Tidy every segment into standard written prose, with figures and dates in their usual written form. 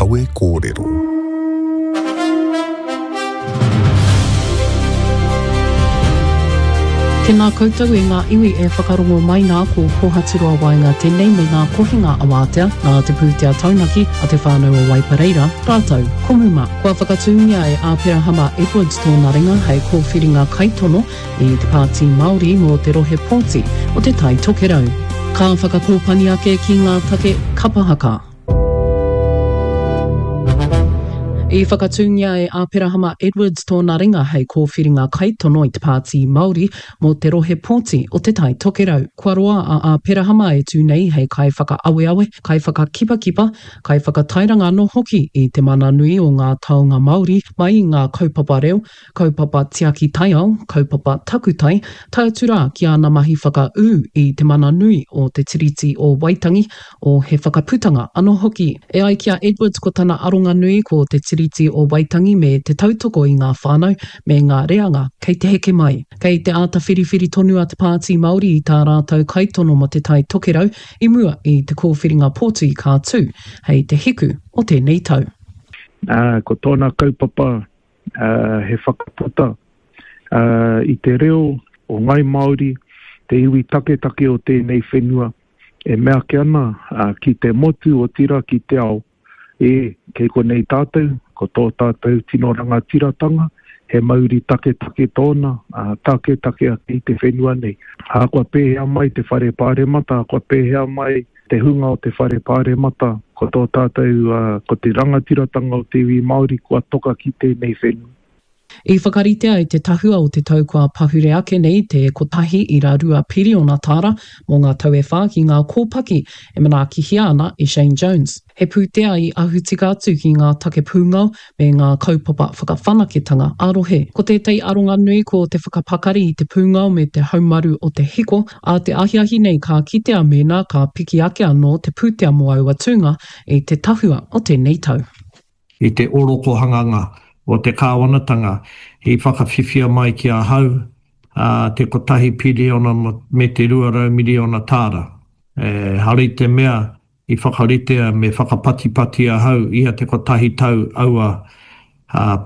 Kawe Kōrero. Tēnā koutou e ngā iwi e whakarongo mai nā ko Kohaturoa Waenga tēnei me ngā kohinga awātea nā te pūtea taunaki a te whānau o Waipareira rātou ko Muma. Kua whakatūngia e Āperahama Edwards tōna ringa hei kōwhiringa kaitono i te Pāti Māori mō te rohe pōti o Te Tai Tokerau. Ka whakakōpani ake ki ngā take kapa haka. I whakatūngia e Āperahama Edwards tōna ringa hei kōwhiringa kaitono i te Pāti Māori mō te rohe pōti o Te Tai Tokerau. Kua roa a Āperahama e tū nei hei kaiwhakaaweawe, kaiwhakakipakipa, kaiwhakatairanga anō hoki i te mana nui o ngā taonga Māori mai i ngā kaupapa reo, kaupapa tiaki taiao, kaupapa takutai, tae atu rā ki āna mahi whakaū i te mana nui o Te Tiriti o Waitangi, o He Whakaputanga anō hoki. E ai ki a Edwards ko tana aronga nui ko Te Tiriti o Waitangi me te tautoko i ngā whānau me ngā reanga kei te heke mai. Kei te āta whiriwhiri tonu a Te Pāti Māori i tā rātou kaitono mō Te Tai Tokerau i mua i te kōwhiringa pōtui ka tū hei te hiku o tēnei tau. Ā, ko tōna kaupapa he whakaputa i te reo o Ngai Māori, te iwi taketake o tēnei whenua, e mea ake ana ki te motu, otirā ki te ao, e, kei konei tātou, ko tō tātou tino rangatiratanga, he mauri taketake tōna, taketake ake i te whenua nei. Ahakoa pēhea mai te whare pāremata, ahakoa pēhea mai te hunga o te whare pāremata, ko tō tātou, ko te rangatiratanga o te iwi Māori kua toka ki tēnei whenua. I whakaritea e te tahua o te tau kua pahure ake nei te 1.2 piriona tāra mō ngā tau e whā ki ngā kōpaki e manaakihia ana e Shane Jones. He pūtea i ahu tika atu ki ngā take pūngao me ngā kaupapa whakawhanaketanga ā-rohe. Ko tētahi aronga nui ko te whakapakari i te pūngao me te haumaru o te hiko, ā te ahiahi nei ka kitea mēnā ka piki ake anō te pūtea mō aua tūnga i te tahua o tēnei tau. I te orokohanganga o te kāwanatanga i whakawhiwhia mai ki ahau te kotahi piriona me te 200 miriona tāra. Ehara i te mea I whakaritea me whakapatipati ahau ia te kotahi tau aua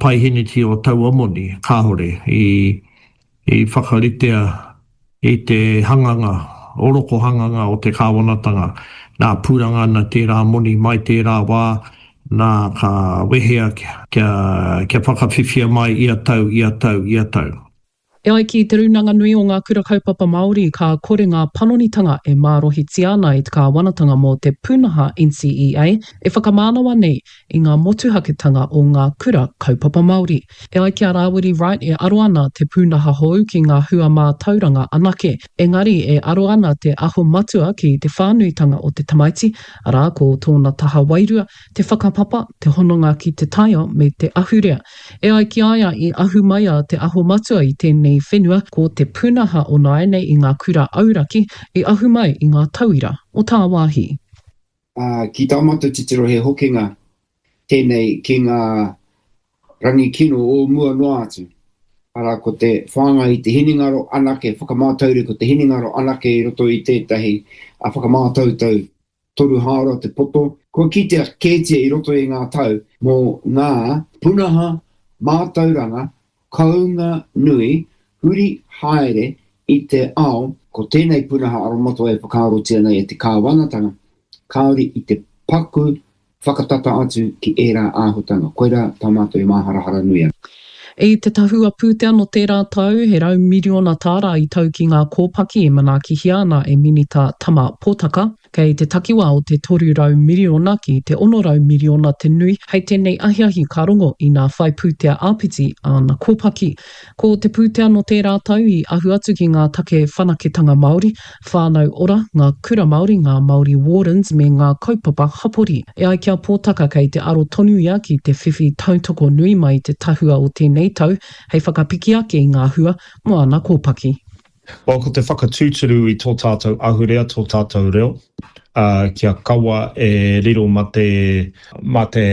paiheneti o taua moni, kāore i i whakaritea i te hanganga, orokohanganga o te kāwanatanga, nā pūranga ana tērā moni mai tērā wā, nā ka wehea kia kia whakawhiwhia mai ia tau, ia tau, ia tau. E ai ki Te Rūnanga Nui o Ngā Kura Kaupapa Māori, ka kore ngā panonitanga e mārohitia ana e te kāwanatanga mō te pūnaha NCEA e whakamānawa nei i ngā motuhaketanga o ngā kura kaupapa Māori. E ai ki a Rāwiri Wright e aro ana te pūnaha hou ki ngā hua mātauranga anake, engari e aro ana te aho matua ki te whānuitanga o te tamaiti, arā, ko tōna taha wairua, te whakapapa, te hononga ki te taiao me te ahurea. E ai ki a ia i ahu mai a Te Aho Matua i tēnei whenua, ko te pūnaha o nāianei i ngā kura auraki i ahu mai i ngā tauira o tāwāhi. Ā, ki tā mātou titiro he hokinga tēnei ki ngā rangi kino o mua noa atu. Arā, ko te whāngai i te hinengaro anake, whakamātauri ko te hinengaro anake i roto i tētahi whakamātautau toru hāora te poto. Kua kitea kētia i roto i ngā tau mō ngā punaha mātauranga kounga nui huri haere i te ao, ko tēnei punaha aromatawai e whakaarotia nei e te kāwanatanga, kāore i te paku whakatata atu ki ērā āhutanga. Koirā tā mātou e māharahara nui ana. I te tahua pūtea nō tērā tau, he raumiriona tāra i tau ki ngā kōpaki e manaakihia ana e Minita Tama Potaka. Kei te takiwā o te 300 miriona ki te 600 miriona te nui hei tēnei ahiahi ka rongo inā whai pūtea āpiti āna kōpaki. Ko te pūtea nō tērā tau i ahu atu ki ngā take whanaketanga Māori, whānau ora, ngā kura Māori, ngā Māori Wardens me ngā kaupapa hapori. E ai ki a Pōtaka kei te aro tonu ia ki te whiwhi tautoko nui mai i te tahua o tēnei tau hei whakapiki ake i ngā hua mō ana kōpaki. Well, ko te whakatūturu i tō tātou ahurea, tō tātou reo, ā, kia kaua e riro ma te, ma te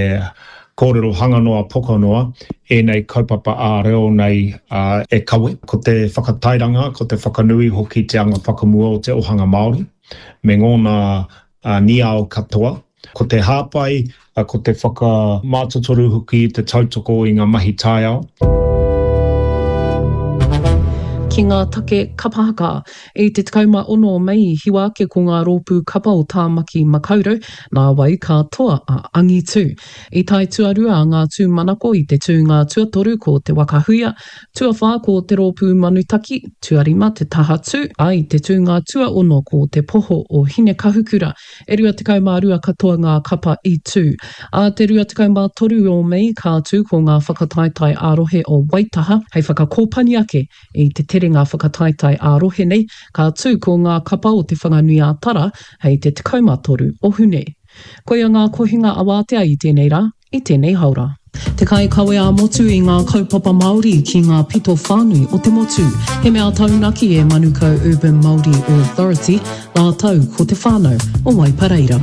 kōrero hanga noa, poka noa, ēnei kaupapa ā-reo nei, ā, e kawe. Ko te whakatairanga, ko te whakanui hoki te anga whakamua o te ohanga Māori, me ngōna niao katoa. Ko te hāpai, ko te whakamātotoru hoki, te tautoko i ngā mahi taiao. Ki ngā take kapa haka. I te 16 o Mei i hiwa ake ko ngā rōpū kapa o Tāmaki Makaurau, nāwai ka toa a Angitu. I tae tuarua a Ngā Tūmanako i te tūnga tuatoru ko Te Waka Huia, tuawhā ko Te Rōpū Manutaki, tuarima Te Taha Tū, ā, i te tūnga tuaono ko Te Poho o Hinekahukura. E 22 katoa ngā kapa i tū. Ā te 23 o Mei ka tū ko ngā whakataetae ā-rohe o Waitaha hei whakakōpani ake i te terenga whakataetae ā-rohe nei, ka tū ko ngā kapa o Te Whanganui-ā-Tara hei te 13 o Hune. Koia ngā kohinga awātea i tēnei rā, i tēnei haora. Te kaikawe ā-motu i ngā kaupapa Māori ki ngā pito whānui o te motu. He mea taunaki e Manukau Urban Māori Authority rātou ko te whānau o Waipareira.